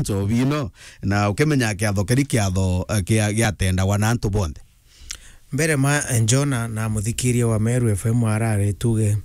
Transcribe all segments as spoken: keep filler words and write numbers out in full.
nchobi ino, na ukimenya kiatho kiri kiatho, eh, kia, giatendagwa na antu bonthe. Mbere ma, eh, Njona na muthikiria wa Meru F M arari tuge,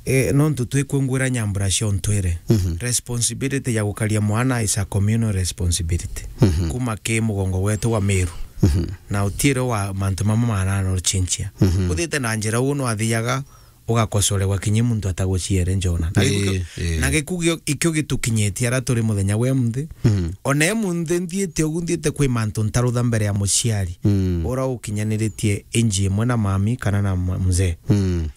eh, nontu twikwingwira nyambura cia untwire. Mhm. Responsibility ya gukaria mwana is a communal responsibility. Mhm. Kuma ki mugongo wetu wa Meru. Mhm. Na utiire wa mantu mamwe mananochinchia. Mhm. Uthite na njira uu nwathiaga ugakosoregwa kinya muntu ataguciere Njona. Na Ii, giku-, ii. Na giku gio-, ikio gitukinyitie ara turi muthenya wa emunthi. Mm. Ona emunthi nthiite ugu, nthiite kwi mantu ntarutha mbere ya muciari. Mm. Ura ukinyaniritie inji imwe na mami kana na ma-, mzee. Mm.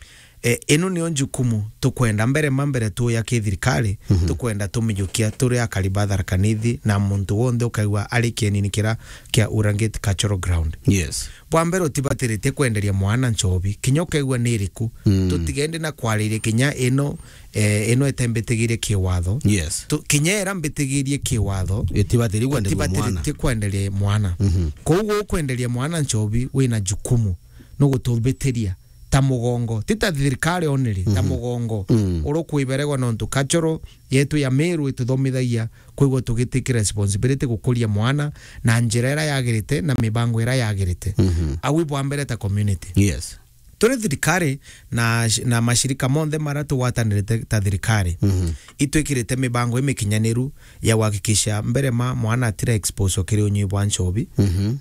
E, ino nio njukumu tukwenda mbere ma mbere tuya ki thirikari, Mhm. tukwenda tumijukia turi akari ba Tharaka Nithi na muntu wonthe ukaigua ari kienini kira kia Urangate Cultural Ground. Yes. Bwa mbere, utibatiritie kwenderia mwana nchobi, kinya ukaigua ni iriku. Mm. Tutigende na kwariria kinya ino, eh, ino itembitigirie kiwatho. Yes. Tu-, kinya ira mbitigirie kiwatho, Itibatiri kwenderia mwana. Itibatiritie kwenderia mwana. Mhm. Koguo ukwenderia mwana nchobi, wina jukumu, no gutubitiria ta mugongo. Ti ta thirikari only, ta Mhm. mugongo. Mm. Uri kwiberegwa nontu cultural yetu ya Meru ituthomithagia kwigua tugitiki responsibility gukuria mwana na njira ira yagirite na mibango ira yagirite. Mhm. Au bwa mbere ta community. Yes. Turi thirikari na, na mashirika monthe mara tugwatanirite ta thirikari, Mhm. itwikirite mibango imikinyaniru ya guhakikisha mbere ma mwana atira expose kiri unyui bwa nchobi. Mhm.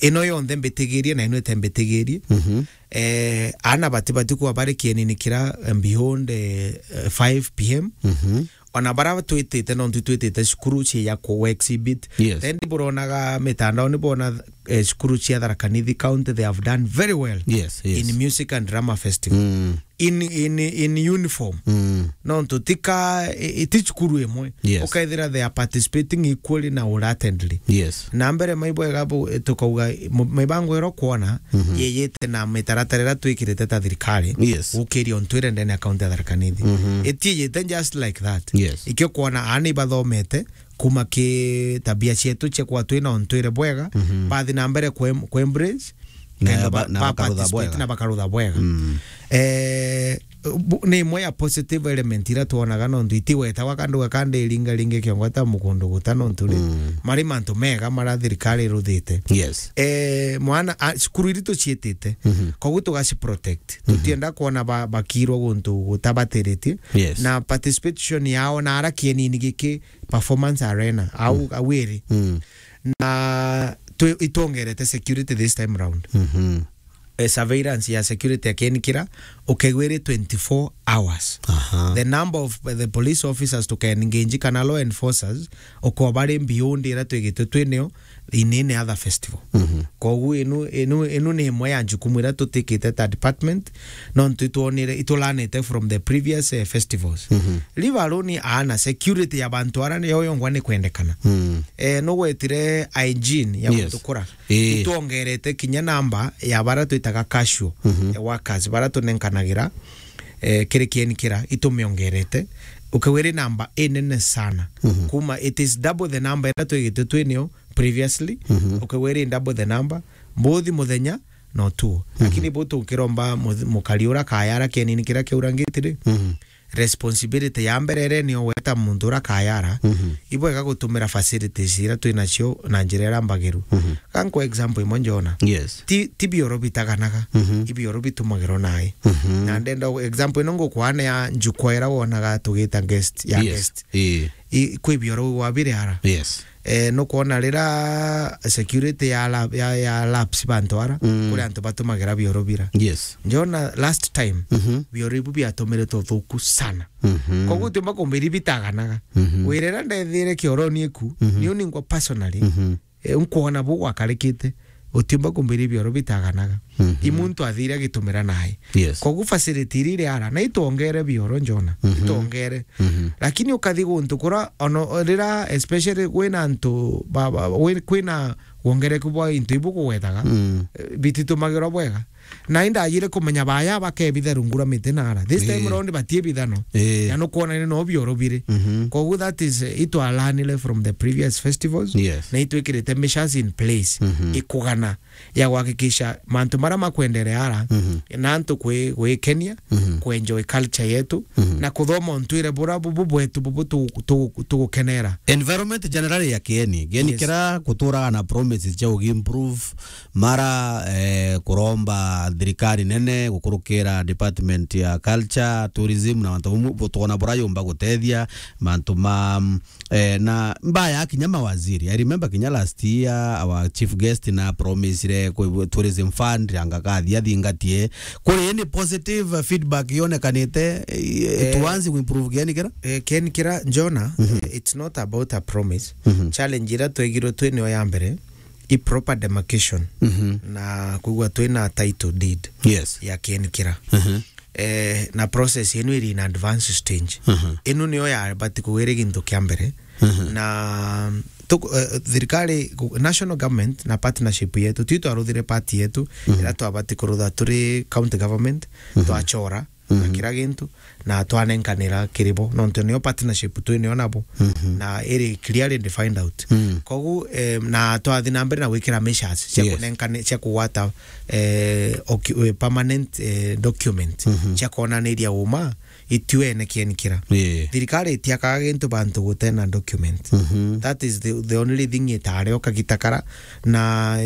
Ino yonthe mbitigirie na ino itembitigirie. Mhm. Eh, ana bati bati kuba bari kienini kira, eh, beyond, eh, eh, five P M. Mhm. Ona bara twitite, nontu twitite cukuru cia ya ku exhibit. Yes. Then buronaga mitandao ni bona, eh, cukuru cia Tharaka Nithi County, they have done very well Yes, yes. in music and drama festival. Mm. In, in, in uniform. Mm. Nontu tika, i-, i-, ti cukuru imwe. Yes. Ukaithira they are participating equally na uratendly. Yes. Na mbere maibwega bu-, tukauga mu-, mibango ira ukwona Mhm. yeyite na mitaratara ira twikirite ta thirikari Yes. gukiria untwire ndene ya kaunti ya Tharaka Nithi. Mhm. Itiyite just like that. Yes. Ikio kwona aana ibathomete kuma ki tabia cietu cia kwa twina untwire bwega, Mhm. bathi na mbere kwe-, kwe embrace, Na kenda ba-, ba-, na ba bakarutha participate bwega. Na bakarutha bwega. Mm. Eh, bu-, ni imwe ya positive element ira twonaga, nontu itiwetagwa kandu gakandi iringa ringi kiongo ta mukundu guta, nontu ri, Mm. mari mantu mega mara thirikari iruthite. Yes. Eh, mwana, a, cukuru iri tuciitite, Mhm. koguo tugaci protect. Mhm. Tutienda kwona ba-, bakirwa guntu gutabatiritie. Yes. Na participation yao na ara kienini giki performance arena, au, Mm. au iri. Mm. Na twi-, itwongerete security this time round. Mhm. Eh, surveillance ya security ya kieni kira, ukaigua iri twenty-four hours. Aha. The number of the police officers tuka engage kana law enforcers, uko bari beyond ira twigitwe twinio in any other festival. Mhm. Koguo inu, inu, inu ni imwe ya jukumu ira tutikite ta department, nontu itwonire, itulanite from the previous, eh, festivals. Mhm. Leave alone aana, security ya bantu ara niyo yongwa ni kwendekana. Mm. Eh, nugwetire hygiene ya Yes. guntu kura. Ii. Itwongerete kinya namba ya bara twitaga casual, Mhm. eh, workers, bara tunenkanagira, eh, kiri kieni kira, itumiongerete. Ukaigua iri namba inene sana. Mhm. Kuma, it is double the number ira twigitwe twinio previously. Mhm. Ukaigua iri double the number, both muthenya na utuo. Mhm. Lakini bu tukiromba mu-, mukari ura kayara kienini kira kiaura ngitiri. Mhm. Responsibility ya mbere ere nio weta muntu ura kayara. Mhm. Ibwega gutumira facilities ira twinacio na njira ira mbagiru. Mhm. Ga nkwe example imwe Njona. Yes. Ti, ti bioro bitaganaga. Mhm. Ibioro bitumagirwo nai. Mhm. Na ndenda example ino ngukwane ya njukwa ira wonaga tugita guest, ya Yes. guest. Ii. I, kwi bioro wa biri ara. Yes. Eh, nukwona rira security ya la-, ya, ya laps bantu ara, Mm. kuri antu batumagira bioro bira. Yes. Njona last time, Mhm. bioro ibu biatumiritwe uthuku sana. Mhm. Koguo utiumba kumbiri bitaganaga. Mhm. Wirira ndethire kioroni iku, Mhm. niu ningwa personally, Mhm. eh, nkwona bu gwakarikite, utiumba kumbiri bioro bitaganaga. Mhm. I muntu athire agitumira nai. Yes. Koguo facility iri iri ara, na itwongere bioro Njona, Mhm. itwongere. Mhm. Lakini ukathi guntu kura, ono rira, especially kwina antu, ba, ba, wi-, kwina wongereku bwa into ibu kugwetaga, Mm. eh, bititumagirwa bwega. Na indajire kumenya baya bakebitha rungu rwa miti na ara. This time Ii. round batiebithano. Ii. Na nukwona ni no bioro biri. Mhm. Koguo that is, eh, itwalanire from the previous festivals. Yes. Na itwikirite measures in place. Mhm. Ikugana ya kuhakikisha mantu maria makwenderea ara, Mhm. na antu kwi-, gwikenia, Mhm. kwenjoy culture yetu, Mhm. na kuthoma untwire bura bubu bwetu bubu tu-, tu-, tugukenera. Environment generally ya Kieni. Kieni Yes. kira kuturaga na promises cia ugi improve, mara, eh, kuromba thirikari nene gukurukira department ya culture, tourism na mantu bamwe, bu-, twona bura yumba gutethia mantu ma, mm, eh, na mbaya kinya mawaziri. I remember kinya last year our chief guest na promisire kwi tourism fund anga kathi athingatie. Kuri ni positive feedback yonekanite, eh, Eh, tuanze kuimprove Kieni kira? Eh, Kieni kira, Jona, Mhm. eh, it's not about a promise. Mhm. Challenge ira twegirwe twi niyo ya mbere, i proper demarcation Mhm. na kwigua twina title deed Yes. ya Kieni kira. Mhm. Eh, na process yenu iri in advance stage. Mhm. Inu niyo yabati kugwira gintu kia mbere. Mhm. Na tuku-, eh, thirikari, national government na partnership yetu, twi twaruthire part yetu, Mhm. ira twabati kurutha turi county government, Mhm. twachora, na Mhm. kira gintu, na twanenkanira kiri bo, nontu niyo partnership twi niyo nabo, Mhm. na iri clearly defined out. Mm. Kogu, eh, na twathi na mbere na gwikira measures cia Yes. kunenkane-, cia kugwata, eh, ocu-, eh, permanent, eh, document, Mhm. cia kwonaniria uma ituene Kieni kira. Yeah. Thirikari itiakaga gintu bantu gutena document. Mhm. That is the, the only thing itario kagita kara, na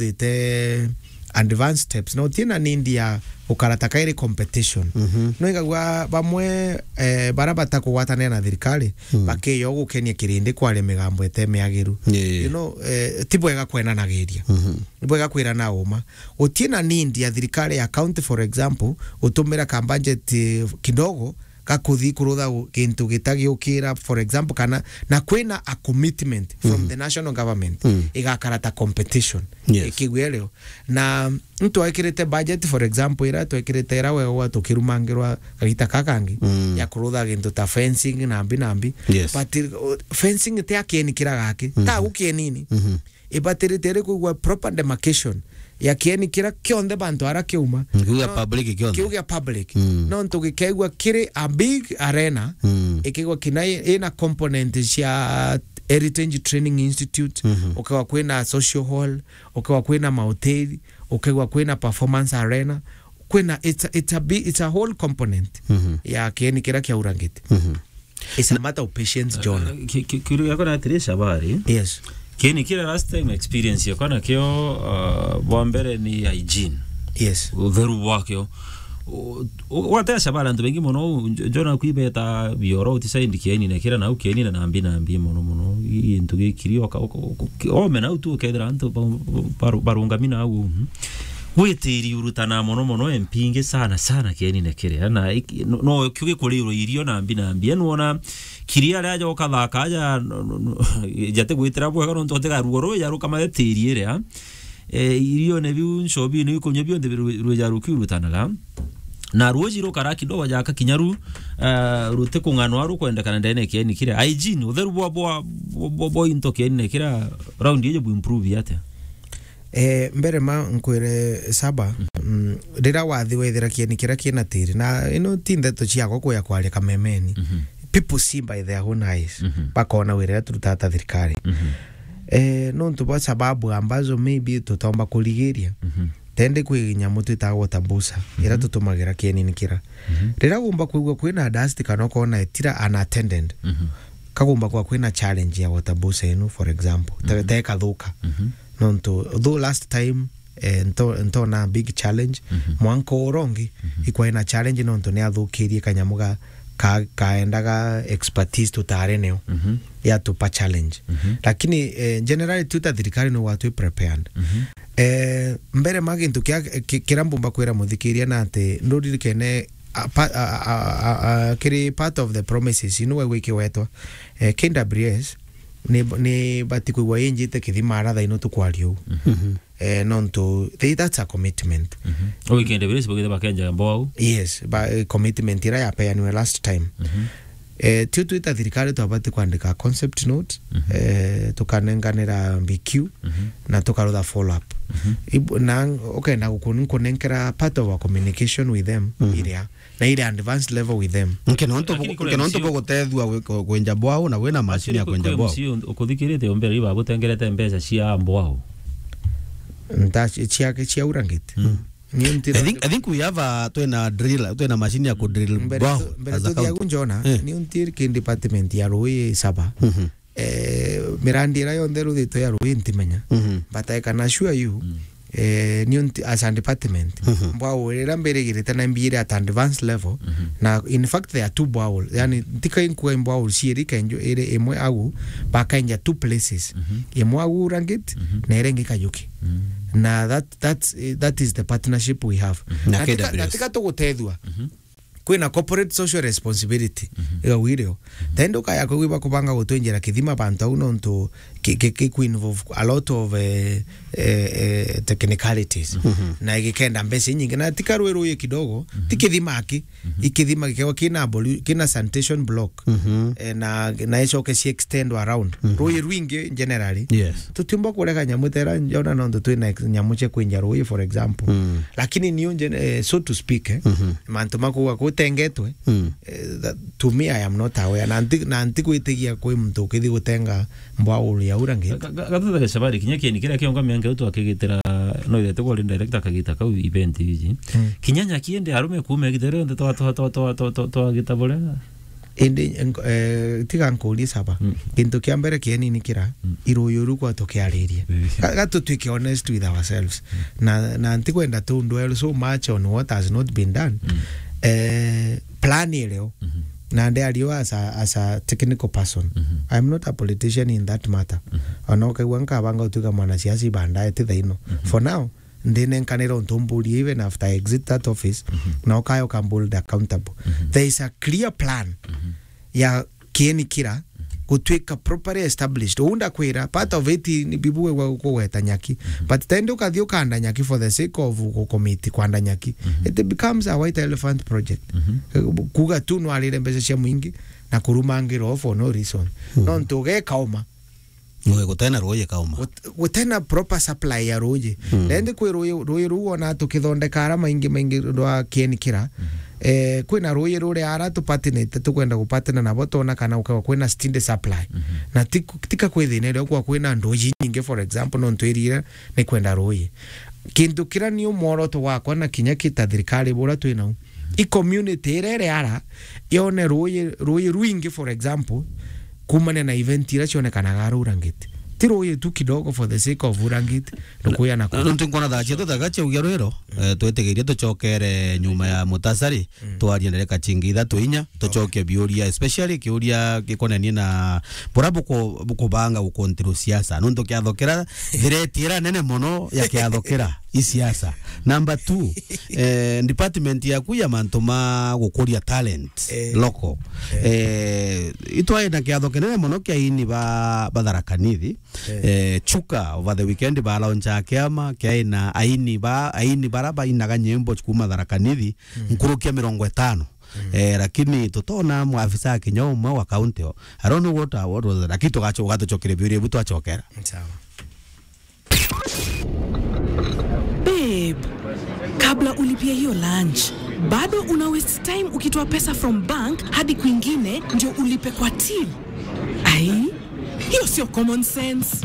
ituruthite advanced steps. No, ti na need ya gukara ta kairi competition. Mhm. No igagua bamwe, eh, bara batakugwatanira na thirikari, Mm. bakiyo gukenia kirindi kwaria migambo ite miagiru. Yeah. You know, eh, ti bwega kwenanagiria. Mhm. Ni bwega kwirana uma. Guti na need ya thirikari ya county, for example, gutumira ka budget, eh, kidogo ga kuthi kurutha u-, gintu gitagiukira, for example, kana na kwina a commitment from Mm. the national government, Mm. igakara ta competition. Yes. Ikigwia rio. Na ntwekirite budget, for example, ira twekirite ira wegwa tukirumangirwa kagita ka kangi Mm. ya kurutha gintu ta fencing na mbi na mbi. Yes. But, uh, fencing ti a Kieni kira gaki. Mhm. Ta gukienini. Mhm. Ibatirite iri kwigua proper demarcation ya Kieni kira kionthe bantu ara kiuma. Kiu gia No, public kionthe. Kiu gia public. Mm. Nontu gikeigua kiri a big arena, Mm. ikigwa kina i-, ina component cia Heritage Training Institute, Mhm. ukigwa kwina social hall, ukigwa kwina mahoteli, ukigwa kwina performance arena, kwina, it's a, it's a bi-, it's a whole component Mhm. ya Kieni kira kiaurangite. Mhm. It's a matter of patience, John. Uh, ki-, ki-, kiuria giakwa ni atiri, Shabari. Yes. Kieni kira last time experience yakwa nakio, uh, bwa mbere ni hygiene. Yes. Utheru bwakio. U-, u-, gwatea Shabari antu baingi mono, u-, njo-, njona kwibeta bioro utisaindi Kieni na kira nau Kieni na nambi nambi mono mono. I-, gintu gikiri oka-, oka-, oka-, ki-, ome nau tu ukethira antu ba-, ba-, barungami nau. Mhm. Gwitiri urutana mono mono mpingi sana sana Kieni na kiria. Na iki-, no, no kio gikurirwo irio nambi nambi. Enu wona kiria aria aja ukathaka aja, no, no, no, jate gwitira bwega nontu atiga ruo ruu jaruka mathe tiri iria. Eh, irione biu nchobi ni ikunywa bionthe biru-, rwija rukiurutanaga. Na ruuji rukara kidogo jaka kinya ru, eh, rutikung'anwa rukwendekana ndene Kieni kiria. Hygiene, utheru bwa, bwa, bwa, bwa, bwa into Kieni na kiria round iji bu improve atia? Eh, mbere ma nkwire Saba, mm, rira wathi wethira Kieni kiria kina tiri, na ino ti ndeto ciakwa kuya kwaria kamemeni. Mhm. People see by their own eyes. Mhm. Bakona wira uria turutaga ta thirikari. Mhm. Eh, nontu bwa sababu ambazo maybe tutaomba kurigiria. Mhm. Tende kwi nyamu twitaga water boozer, iria Mhm. tutumagira Kieni kira. Mhm. Rira gumba kwigua kwina dust kana ukona itira unattended, Mhm. kagumba kwa kwina challenge ya water boozer ino, for example, te-, Mhm. tekathuka. Mhm. Nontu, though last time, eh, nto-, ntona big challenge, Mhm. mwanka urongi, Mhm. ikwaina challenge nontu ni athukirie kanyamu ga, ka-, kaendaga expertise tutare neo, Mhm. yatupa challenge. Mhm. Lakini, eh, generally, tuta thirikari no watwi prepared. Mhm. Eh, mbere ma gintu kia, ki-, kira mbumba kwira muthikiria na ati, nduririkene, a, pa-, a, a, a, a, kiri part of the promises, inu we gwikiwetwa, eh, K W S, ni, ni bati kwigua injite kithima ara thaino tukwaria uu. Mhm. Eh, nontu, they, that's a commitment. Mhm. Uu K W S bagithe bakenja mboa uu? Yes, ba, eh, commitment ira yapeaniwe last time. Mhm. Eh, tio twita thirikari twabati kwandika concept note, Mhm. eh, tukanenganira B Q, Mhm. na tukarutha follow up. Mhm. Ibu-, na ukenda guku-, nkunenkera part of our communication with them, Mhm. iria, na ile advanced level with them. Nke nontu Lakini bu-, kule nke nontu M C O bugutethua gwi-, ku-, kwenja bwau na wina machine ya Lakini kwenja kule bwau. M C O uthuthikirite umbere iba gutengerete mbeca cia bwau. Nta-, cia, cia urangite. Mm. Ni until I think, I think we have a, twina drill, twina machine ya ku drill mbere borehole tu-, mbere as a tuthia county. Gu njona, eh, ni until ki department ya rui saba. Mhm. Eh, mirandi ira yonthe ruthitwe ya rui ntimenya. Mhm. But I can assure you, mm, eh, ni unti-, as a department, mhm, borehole ira mbirigirite na mbire at advanced level. Mhm. Na in fact, there are two borehole. Yani, ntika inkuga borehole ciiri kenjo iri imwe au, bakaenja two places. Mhm. Imwe au Urangit, mhm, na ira ingi Kajuki. Mm. Na that, that's, eh, that is the partnership we have. Mhm. Na na tika, K W S. Na tika tugutethua. Mhm. Kwina corporate social responsibility. Mhm. Iga wirio. Mhm. Then ndukaya kwigua bakubanga gutwinjira kithima bantu au nontu ki, ki, ki, ku involve a lot of, eh, eh, eh, technicalities. Mhm. Na igikenda mbeca inyingi. Na tika rui rui kidogo, mhm, ti kithima aki. Mhm. Ikithima gikewa kina ablu-, kina sanitation block. Mhm. Eh, na, na icoke ci extend around. Mhm. Rui rwingi generally. Yes. Tutiumba kurega nyamu tera njona nontu twina ex-, nyamu cia kwinja rui, for example. Mm. Lakini niu nje-, eh, so to speak, eh, mhm, mantu makuga kutengetwe, mm, eh, that, to me, I am not aware. Na nti-, na ntigwitigia kwi muntu ukithi gutenga borehole ya Urangit. Ga-, ga-, ga-, gatuthe Shabari, kinya kieni kiria kionga mianka u twakigitira, no ithete kwari director akagita kau event iji. Mm. Kinya nyaki indi arume kuuma igita rionthe twa, twa, twa gita buria. Indi, nk-, eh, tiga nkurie Saba. Mm. Kintu kia mbere kieni ni kira, mm, iruyu ru kwa tukiaririe. Mm. Ga-, ga tutwike honest with ourselves. Mm. Na, na ntikwenda tu dwell so much on what has not been done. Mm. Eh, plan irio. Mhm. Na ndiario as a, as a technical person. Mhm. I am not a politician in that matter. Mhm. Ona ukaigua nkabanga utuika mwanasiasi baadaye ti thaino. Mhm. For now, ndinenkanira untu mburie even after I exit that office, mhm, na ukaya ukambuhold accountable. Mhm. There is a clear plan, mhm, ya kieni kira, mhm, gutwika properly established. Uu ndakwira, part of it ni bibu we gwa kugweta nyaki. Mhm. But tende ukathi ukanda nyaki for the sake of gukomiti kwanda nyaki. Mhm. It becomes a white elephant project. Mhm. Kuga tu nwarire mbeca cia mwingi na kurumangira for no reason. Mhm. Nontu ugeka uma. Ui, gutena ruuji kauma. Gut-, gutena proper supply ya ruuji. Mm. Na indi kwi ruuji, ruuji ruu wona tukithondeka ara maingi maingi rwa kieni kira. Mm. Eh, kwina ruuji ruria ara tupatinite, tukwenda gupatana nabo, twona kana gukagwa kwina steady supply. Mm-hmm. Na ti, tika kwi thina iria kwa kwina nduuji nyingi, for example, nontu iriira ni kwenda ruuji. Kintu kira ni umworoto wakwa na kinya kita thirikari bura twinau. I community iria iri ara, yone ruuji, ruuji rwingi, for example, kumania na event iria cionekanaga ara Urangiti. Ti ruuji tu kidogo for the sake of Urangiti, rukuya na kuya. Nontu nkwona thaa cietu thaga ciaugia rwiro, mm, eh, twitigirie tucokere nyuma ya mutasari, mm, twarie ndereka cingi ithatu inya, tucoke biuria, especially kiuria gikonenie na bura buku-, bukubanga gukontrol siasa. Nontu kiatho kira, threat ira nene mono ya kiatho kira i siasa. Number two, eh, department yaku ya mantu ma gukuria talent, eh, local. Eh. Eh, itwari na kiatho kinene mono kia aini ba, ba Tharaka Nithi. Eh. Eh, Chuka over the weekend ba launch kiama kia aina aini ba, aini bara bainaga nyimbo kuma Tharaka Nithi, mm, nkuruki ya mirongo itano. Mm. Eh, lakini tutona mwafisa kinya umwe wa county o. I don't know what, what was, lakini tugacho-, ugatucokeria biuria biu twacokera. Sawa. Babe, kabla ulipie hiyo lunch, bado una waste time ukitoa pesa from bank hadi kwingine ndio ulipe kwa till. Ai, hiyo sio common sense.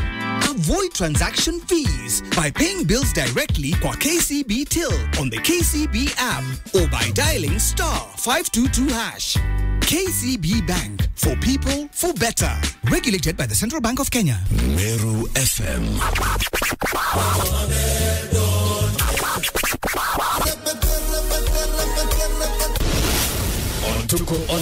Avoid transaction fees by paying bills directly kwa K C B Till on the K C B app or by dialing star five two two hash. K C B Bank, for people, for better. Regulated by the Central Bank of Kenya. Meru F M. Tuko on